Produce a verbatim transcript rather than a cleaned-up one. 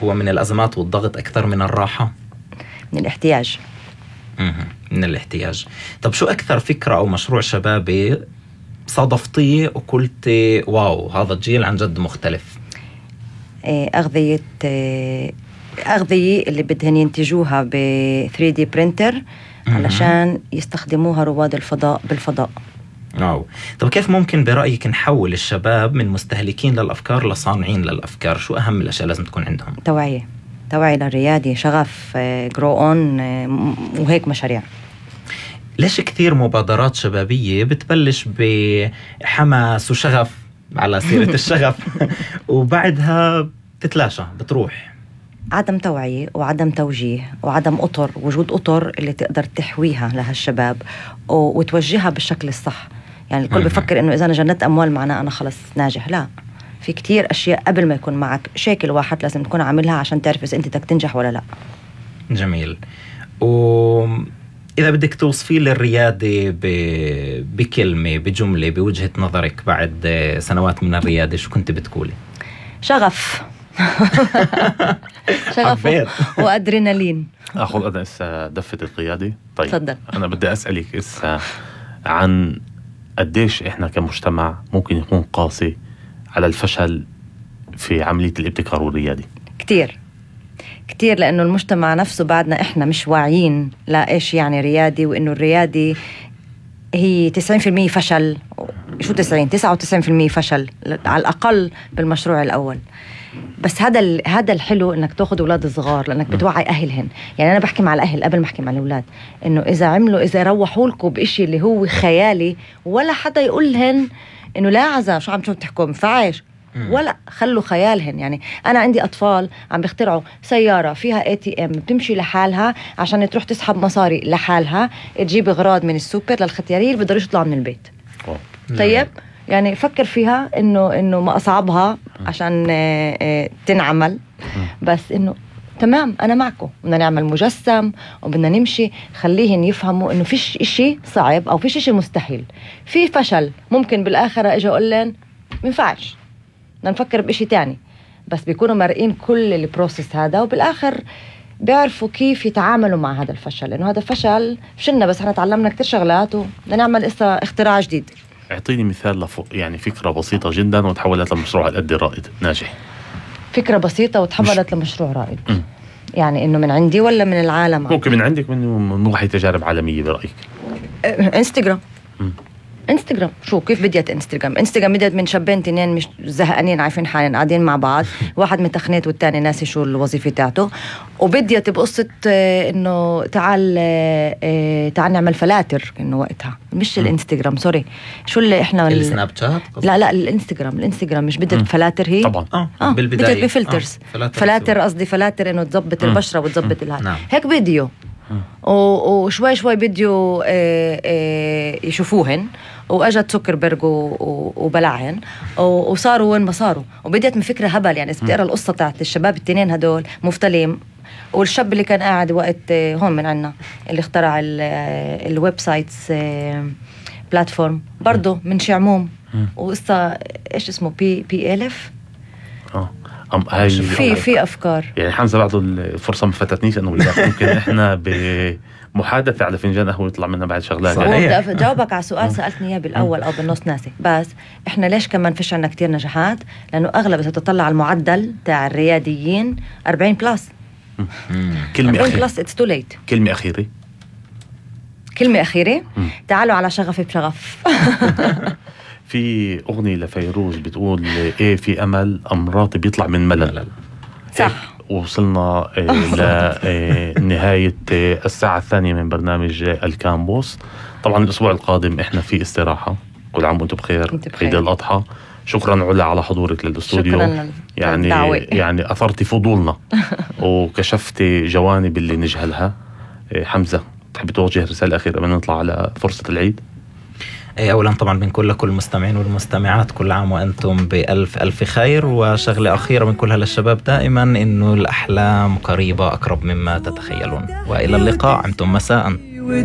هو من الأزمات والضغط أكثر من الراحة؟ من الاحتياج. من الاحتياج. طب شو أكثر فكرة أو مشروع شبابي صادفتيه وقلتي واو هذا الجيل عن جد مختلف؟ أغذية أغذية اللي بدهن ينتجوها ب ثري دي printer علشان يستخدموها رواد الفضاء بالفضاء. أو. طب كيف ممكن برأيك نحول الشباب من مستهلكين للأفكار لصانعين للأفكار؟ شو أهم الأشياء لازم تكون عندهم؟ توعية توعية للريادة، شغف، جرو أون، وهيك مشاريع. ليش كثير مبادرات شبابية بتبلش بحماس وشغف على سيرة الشغف وبعدها بتتلاشى بتروح؟ عدم توعية وعدم توجيه وعدم أطر، وجود أطر اللي تقدر تحويها لهالشباب وتوجهها بالشكل الصح. يعني الكل بفكر إنه إذا أنا جنت أموال معناه أنا خلص ناجح. لا، في كتير أشياء قبل ما يكون معك شكل واحد لازم تكون عاملها عشان تعرف إذا أنت بدك تنجح ولا لا. جميل. وإذا بدك توصفي للريادة بكلمة بجملة بوجهة نظرك بعد سنوات من الريادة شو كنت بتقولي؟ شغف. شغف وأدرينالين. أخذ أنا إسا دفة القيادة. طيب صدق. أنا بدي أسألك إسا عن قديش إحنا كمجتمع ممكن يكون قاسي على الفشل في عملية الابتكار والريادة. كتير كتير، لأنه المجتمع نفسه بعدنا إحنا مش واعيين لا إيش يعني ريادي، وإنه الريادي هي تسعين في المية فشل. شو تسعين؟ تسعة وتسعين في المية فشل على الأقل بالمشروع الأول. بس هذا هذا الحلو إنك تأخذ أولاد صغار، لأنك بتوعي أهلهن. يعني أنا بحكي مع الأهل قبل ما أحكي مع الأولاد، إنه إذا عملوا إذا روحوا لكم بإشي اللي هو خيالي ولا حدا يقول لهن إنه لا عزا شو عم شو بتحكوا مفعش، ولا خلوا خيالهن. يعني أنا عندي أطفال عم بيخترعوا سيارة فيها اي تي ام بتمشي لحالها عشان تروح تسحب مصاري لحالها، تجيب أغراض من السوبر للختيارية اللي بدهم يطلعوا من البيت. طيب يعني فكر فيها إنه إنه ما أصعبها عشان تنعمل، بس إنه تمام أنا معكم، بدنا نعمل مجسم وبدنا نمشي. خليهن يفهموا إنه فيش إشي صعب أو فيش إشي مستحيل. في فشل ممكن بالآخرة إجا أقول لهم منفعش، بدنا نفكر بإشي تاني. بس بيكونوا مرئين كل البروسيس هذا، وبالآخر بيعرفوا كيف يتعاملوا مع هذا الفشل، لأنه هذا فشل فشلنا بس احنا تعلمنا كتير شغلات وبدنا نعمل إسا اختراع جديد. اعطيني مثال لفوق، يعني فكرة بسيطة جدا وتحولت لمشروع قد رائد ناجح. فكرة بسيطة وتحولت لمشروع رائد. م. يعني إنه من عندي ولا من العالم؟ ممكن من عندك، من وحي تجارب عالمية برأيك؟ انستغرام. م. انستغرام شو كيف بديت انستغرام؟ انستغرام بديت من شابين تنين مش زهقانين عارفين حالين قاعدين مع بعض، واحد متخنيت والتاني ناسي شو الوظيفة تاعته، وبديت بقصة انه تعال تعال نعمل فلاتر. انه وقتها مش الانستغرام سوري شو اللي احنا السناب شات. لا لا الانستغرام الانستغرام مش بدت فلاتر هي طبعا اه, آه. بالبداية بدت بفلترز. آه. فلاتر قصدي فلاتر انه تزبط البشرة وتزبط الهاي. نعم. هيك فيديو وشوي شوي بديو يشوفوهن، واجت زوكربيرج وبلعهن وصاروا وين ما صاروا. وبديت من فكرة هبل. يعني إذا بتقرأ القصة تاعت الشباب التنين هدول مفتلين، والشاب اللي كان قاعد وقت هون من عنا اللي اخترع الويب سايتس بلاتفورم برضو من شعموم، وقصة ايش اسمه بي بي الف. اه أم هاي في في افكار. يعني حمزة بعده الفرصة ما فاتتنيش انه ممكن احنا بمحادثة على فنجان قهوة يطلع منها بعد شغلات. بدي جاوبك على سؤال سألتني اياه بالاول او بالنص ناسي. بس احنا ليش كمان فيش عنا كتير نجاحات؟ لانه اغلب اذا تطلع على المعدل تاع الرياديين أربعين بلس. كلمة أربعين بلس اتس تو ليت. كلمة أخيرة كلمة أخيرة تعالوا على شغفي بشغف. في أغنية لفيروز بتقول إيه في أمل أمراضي بيطلع من ملل. صح. وصلنا لنهاية الساعة الثانية من برنامج الكامبوس. طبعا الأسبوع القادم إحنا في استراحة. كل عام وأنتم بخير. عيد الأضحى. شكرا علا على حضورك للاستوديو. يعني يعني أثرتي فضولنا وكشفتي جوانب اللي نجهلها. حمزة تحب توجه رسالة أخيرة قبل نطلع على فرصة العيد؟ أولا طبعا بنقول لكل المستمعين والمستمعات كل عام وأنتم بألف ألف خير. وشغلة أخيرة بنقولها للشباب دائما إنه الأحلام قريبة أقرب مما تتخيلون. وإلى اللقاء. أنتم مساء.